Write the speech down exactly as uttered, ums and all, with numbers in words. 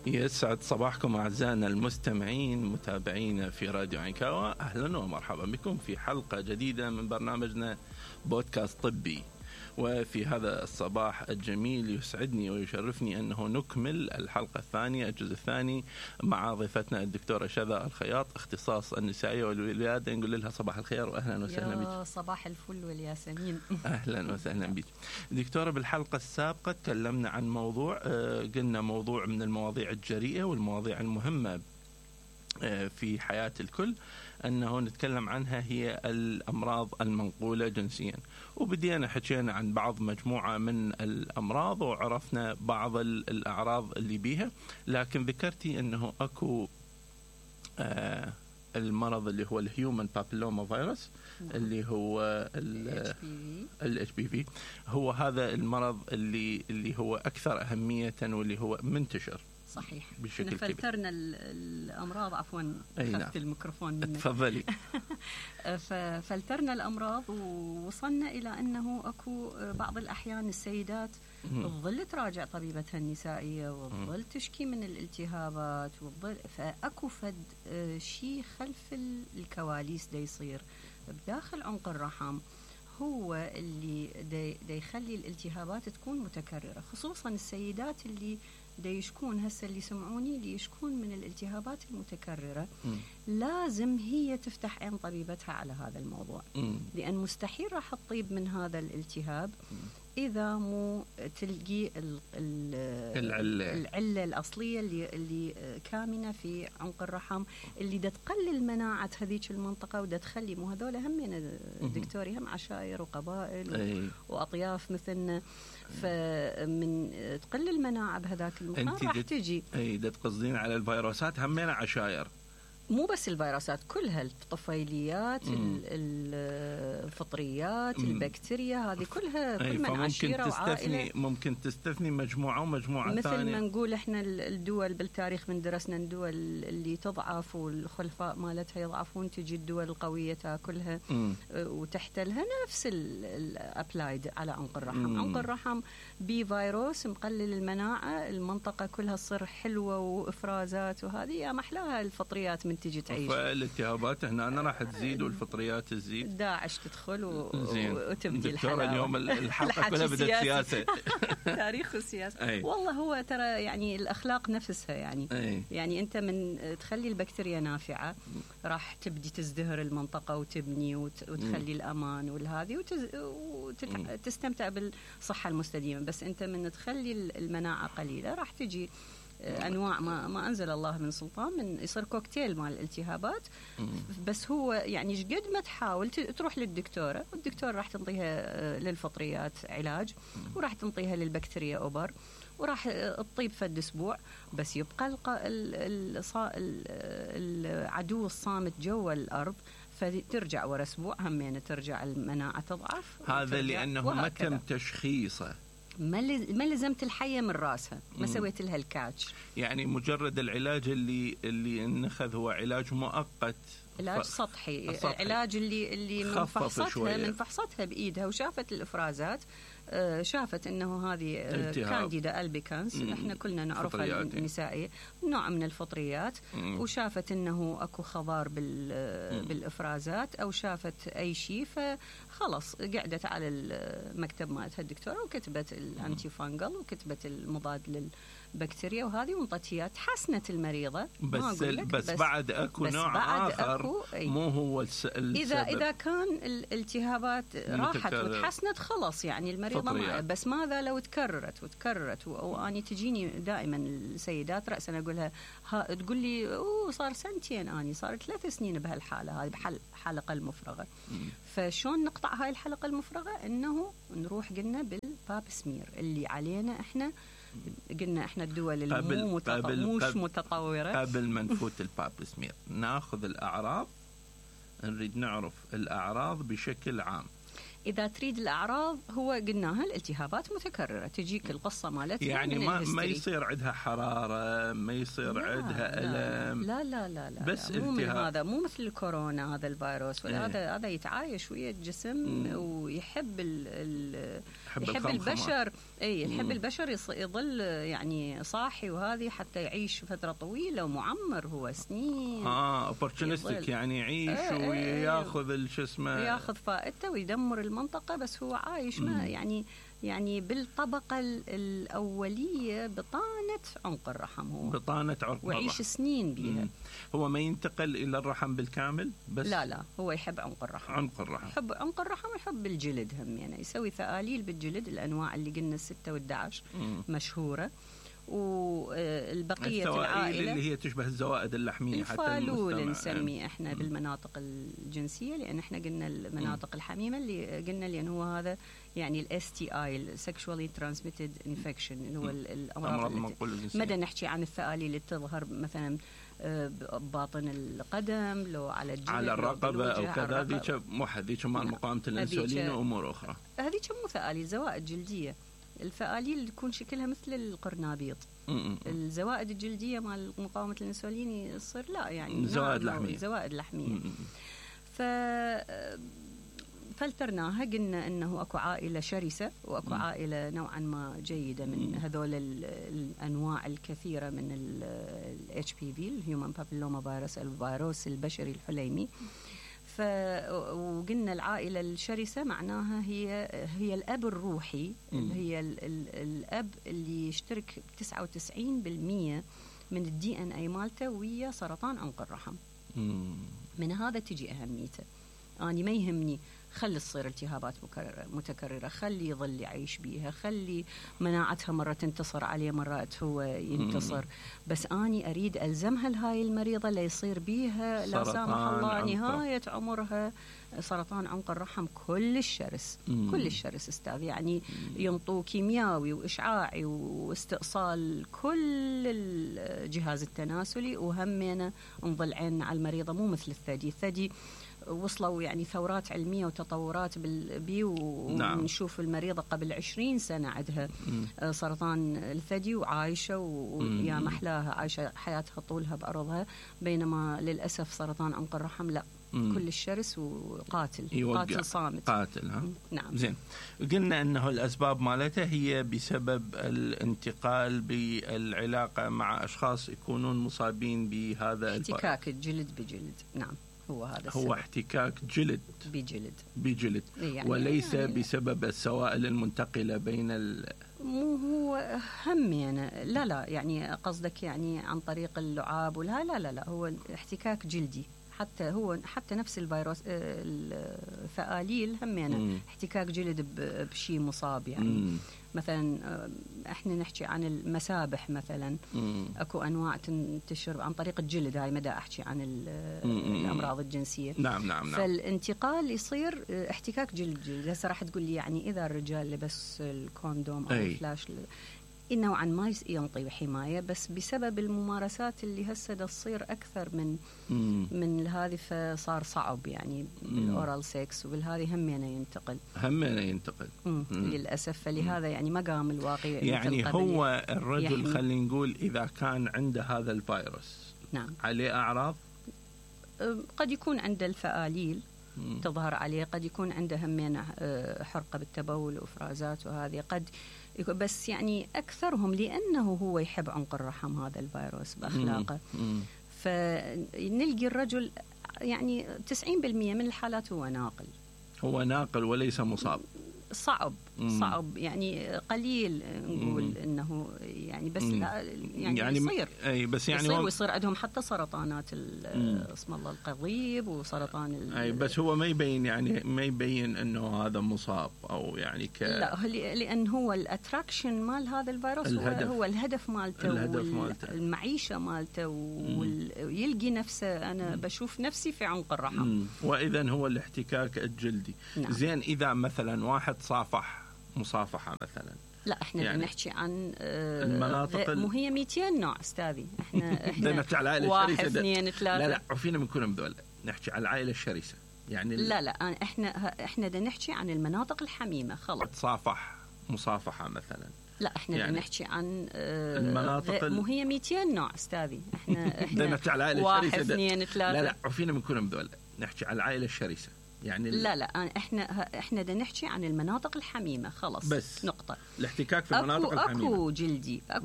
يسعد صباحكم أعزائنا المستمعين متابعينا في راديو عكاوة. أهلا ومرحبا بكم في حلقة جديدة من برنامجنا بودكاست طبي. وفي هذا الصباح الجميل يسعدني ويشرفني أنه نكمل الحلقة الثانية الجزء الثاني مع ضيفتنا الدكتورة شذا الخياط، اختصاص النسائية والولادة. نقول لها صباح الخير وأهلا وسهلا بك. يا صباح الفل والياسمين. أهلا وسهلا بك دكتورة. بالحلقة السابقة تكلمنا عن موضوع، قلنا موضوع من المواضيع الجريئة والمواضيع المهمة في حياة الكل أنه نتكلم عنها هي الأمراض المنقولة جنسيا، وبدينا حكينا عن بعض مجموعة من الأمراض وعرفنا بعض الأعراض اللي بيها، لكن ذكرتي أنه أكو آه المرض اللي هو الهيومن بابيلوما فيروس اللي هو ال إتش بي في. هو هذا المرض اللي اللي هو أكثر أهمية واللي هو منتشر. صحيح. بشكل كبير. فلترنا الأمراض، عفوا خفت الميكروفون منك. تفضلي. فلترنا الأمراض ووصلنا إلى أنه أكو بعض الأحيان السيدات تظل تراجع طبيبتها النسائية وتظل تشكي من الالتهابات وتظل فأكو فد شيء خلف الكواليس دا يصير بداخل عنق الرحم، هو اللي دا, دا يخلي الالتهابات تكون متكررة، خصوصا السيدات اللي دا يشكون هسه اللي سمعوني اللي يشكون من الالتهابات المتكررة. م. لازم هي تفتح عين طبيبتها على هذا الموضوع. م. لأن مستحيل راح تطيب من هذا الالتهاب م. إذا مو تلقي ال ال العلة. العلة الأصلية اللي, اللي كامنة في عنق الرحم اللي دا تقلل مناعة هذيك المنطقة ودا تخلي مو هذول هم دكتوري هم عشائر وقبائل أي. وأطياف مثلنا، فمن تقلل المناعة بهذاك المكان راح تجي. اي دا تقصدين على الفيروسات همينة عشائر، مو بس الفيروسات كلها، الطفيليات، الفطريات، م. البكتيريا، هذه كلها كل من عشيرة وعائلة. ممكن تستثني مجموعة ومجموعة مثل ثانية. مثل ما نقول احنا الدول بالتاريخ من درسنا الدول اللي تضعف والخلفاء مالتها يضعفون، تجي الدول القوية تاكلها م. وتحتلها. نفس الابلايد على عنق الرحم. م. عنق الرحم بفيروس مقلل المناعة، المنطقة كلها تصير حلوة وإفرازات، وهذه يا محلاها الفطريات من تجي تعيش. فالالتهابات هنا أنا راح تزيد والفطريات تزيد، داعش تدخل و... وتبدي الحلاوة. اليوم الحلقة كلها بدأت سياسة. تاريخ السياسة. والله هو ترى يعني الأخلاق نفسها يعني أي. يعني أنت من تخلي البكتيريا نافعة راح تبدي تزدهر المنطقة وتبني وت... وتخلي م. الأمان والهذه وتز... وتستمتع بالصحة المستديمة. بس أنت من تخلي المناعة قليلة راح تجي أنواع ما, ما أنزل الله من سلطان، من يصير كوكتيل مال الالتهابات. بس هو يعني قد ما تحاول تروح للدكتورة، والدكتورة راح تنطيها للفطريات علاج وراح تنطيها للبكتيريا أوبر وراح تطيب فد أسبوع، بس يبقى العدو الصامت جوا الأرض، فترجع ورا أسبوع همين ترجع المناعة تضعف. هذا لأنه ما تم تشخيصه، ما ما لزمت الحية من راسها، ما سويت لها الكاتش. يعني مجرد العلاج اللي اللي نخذ هو علاج مؤقت، علاج سطحي. سطحي. علاج اللي اللي من فحصتها من فحصتها بإيدها وشافت الإفرازات، شافت انه هذه كانديدا ألبيكانس، احنا كلنا نعرفها النسائيه، نوع من الفطريات. مم. وشافت انه اكو خضار بالافرازات او شافت اي شيء، فخلص قعدت على المكتب مالتها الدكتوره وكتبت الانتي فانجل وكتبت المضاد للبكتيريا وهذه وانطتها، تحسنت المريضه. بس بس, بس بعد اكو بس نوع بعد اخر أكو مو هو السبب. اذا اذا كان الالتهابات راحت وتحسنت خلاص يعني المريضه ما. بس ماذا لو تكررت وتكررت واني تجيني دائما السيدات راسا اقولها تقول لي اوه صار سنتين، اني صار ثلاث سنين بهالحاله هذه بحل حلقه المفرغه. فشون نقطع هاي الحلقه المفرغه؟ انه نروح قلنا بالباب سمير اللي علينا احنا، قلنا احنا الدول اللي مو متط... مش متطوره. قبل ما نفوت الباب سمير ناخذ الاعراض، نريد نعرف الاعراض بشكل عام. إذا تريد الأعراض هو قلناها الالتهابات متكررة تجيك القصة مالتها يعني من ما الهستري. ما يصير عندها حرارة، ما يصير لا عندها لا ألم، لا لا لا, لا بس لا مو من التهاب. هذا، مو مثل الكورونا هذا الفيروس ولا هذا ايه. هذا يتعايش ويا الجسم مم. ويحب ال ال يحب, يحب الخمخمة. البشر اي يحب مم. البشر يص- يظل يعني صاحي وهذه حتى يعيش فترة طويلة ومعمر هو سنين. اه اوبورتونستيك يعني يعيش ايه وياخذ الشو اسمه، ياخذ فائدته ويدمر المنطقة بس هو عايش ما يعني يعني بالطبقة ال- الأولية بطانة عنق الرحم هو بطانة عرق ويعيش الرحم. سنين بيها. مم. هو ما ينتقل إلى الرحم بالكامل بس لا لا هو يحب عنق الرحم، عنق الرحم. يحب عنق الرحم ويحب الجلد هم يعني يسوي ثآليل بالجلد الأنواع اللي قلنا الستة والدعش مشهورة. والبقية العائلة اللي هي تشبه الزوائد اللحمية حتى الفالول المستمع. نسميه احنا بالمناطق الجنسية، لأن احنا قلنا المناطق الحميمة اللي قلنا لأن هو هذا يعني الاس تي اي السكشوالي ترانسميتد انفكشن اللي هو الأمراض المنقولة الجنسية. مدى نحكي عن الثآليل اللي تظهر مثلا باطن القدم لو على الجلد على الرقبة أو كذا، ذيك مو ذيك مال نعم. مقاومة الأنسولين وأمور أخرى. هذيك مو ثآليل، زوائد جلدية. الفآليل تكون شكلها مثل القرنابيط. م-م. الزوائد الجلدية مال مقاومة الأنسولين يصير لا يعني زوائد نعم لحمية. زوائد لحمية. م-م. ف فلترناها قلنا انه اكو عائله شرسه واكو م. عائله نوعا ما جيده من هذول الانواع الكثيره من الاتش بي في الهيومن بابيلوما فيروس الفيروس البشري الحليمي. ف وقلنا العائله الشرسه معناها هي هي الاب الروحي اللي هي ال ال الاب اللي يشترك تسعة وتسعين بالمئة من الدي ان اي مالته ويا سرطان عنق الرحم. م. من هذا تجي اهميته. اني ما يهمني خلي تصير التهابات متكررة، خلي يظل يعيش بيها، خلي مناعتها مرة تنتصر عليه مرات هو ينتصر، بس أني أريد ألزمها لهاي المريضة لا يصير بيها لا سامح الله نهاية عمرها سرطان عنق الرحم كل الشرس. مم. كل الشرس أستاذ يعني ينطوا كيميائي وإشعاعي واستئصال كل الجهاز التناسلي، وهمنا نظل عيننا على المريضة مو مثل الثدي. الثدي وصلوا يعني ثورات علمية وتطورات بالبي ونشوف نعم. المريضة قبل عشرين سنة عندها مم. سرطان الثدي وعايشة ويا محلاها عايشة حياتها طولها بعرضها، بينما للأسف سرطان عنق الرحم لا مم. كل الشرس وقاتل يوقع. قاتل صامت قاتل ها؟ نعم. زين قلنا أنه الأسباب مالتها هي بسبب الانتقال بالعلاقة مع أشخاص يكونون مصابين بهذا احتكاك الجلد بجلد. نعم هو هذا السبب. هو احتكاك جلد بجلد بجلد يعني وليس يعني بسبب السوائل المنتقلة بين ال مو هو هم يعني لا لا يعني قصدك يعني عن طريق اللعاب ولا لا لا لا هو احتكاك جلدي. حتى هو حتى نفس الفيروس الثآليل هم يعني احتكاك جلد بشيء مصاب يعني. مم. مثلا احنا نحكي عن المسابح مثلا مم. اكو انواع تنتشر عن طريق الجلد، هاي مدى احكي عن الامراض الجنسيه. نعم نعم نعم. فالانتقال يصير احتكاك جلد جلد. هسه راح تقول لي يعني اذا الرجال لبس الكوندوم او أي. الفلاش نوعا ما ينطي حمايه، بس بسبب الممارسات اللي هسه تصير اكثر من مم. من هذه فصار صعب يعني بالاورال سكس وبالهذه همينه ينتقل همينه ينتقل مم. مم. للاسف. فلهذا يعني ما قام الواقع يعني هو الرجل خلينا نقول اذا كان عنده هذا الفيروس نعم عليه اعراض قد يكون عنده الفآليل مم. تظهر عليه، قد يكون عنده همينه حرقه بالتبول وافرازات وهذه قد، بس يعني أكثرهم لأنه هو يحب عنق الرحم هذا الفيروس بأخلاقه. مم. فنلقي الرجل يعني تسعين بالمئة من الحالات هو ناقل هو ناقل وليس مصاب. صعب مم. صعب يعني قليل نقول مم. انه يعني بس مم. لا يعني, يعني يصير اي بس يعني يصير ويصير عندهم حتى سرطانات اسم الله القضيب وسرطان اي بس هو ما يبين يعني ما يبين انه هذا مصاب او يعني ك لا لان هو الاتراكشن مال هذا الفيروس الهدف. هو, هو الهدف مالته الهدف مالته المعيشه مالته ويلقي نفسه انا بشوف نفسي في عنق الرحم. مم. واذا هو الاحتكاك الجلدي. نعم. زين اذا مثلا واحد صافح مصافحة مثلا، لا احنا يعني نحكي عن المناطق مو هي مئتين نوع استاذي. احنا احنا نحكي على العائله واحد الشرسه اثنين ثلاثه لا لا عفينا من كلهم ذول، نحكي على العائله الشرسه يعني لا لا احنا احنا بدنا نحكي عن المناطق الحميمه خلص. تصافح مصافحه مثلا. لا احنا يعني بدنا نحكي عن آه المناطق مو هي مئتين نوع استاذي. احنا احنا نحكي على العائله واحد الشرسه. اثنين ثلاثه. لا لا عفينا من كلهم ذول، نحكي على العائله الشرسه يعني. لا لا احنا احنا بدنا نحكي عن المناطق الحميمه خلص بس نقطه. الاحتكاك في المناطق أكو الحميمه اكو جلدي اكو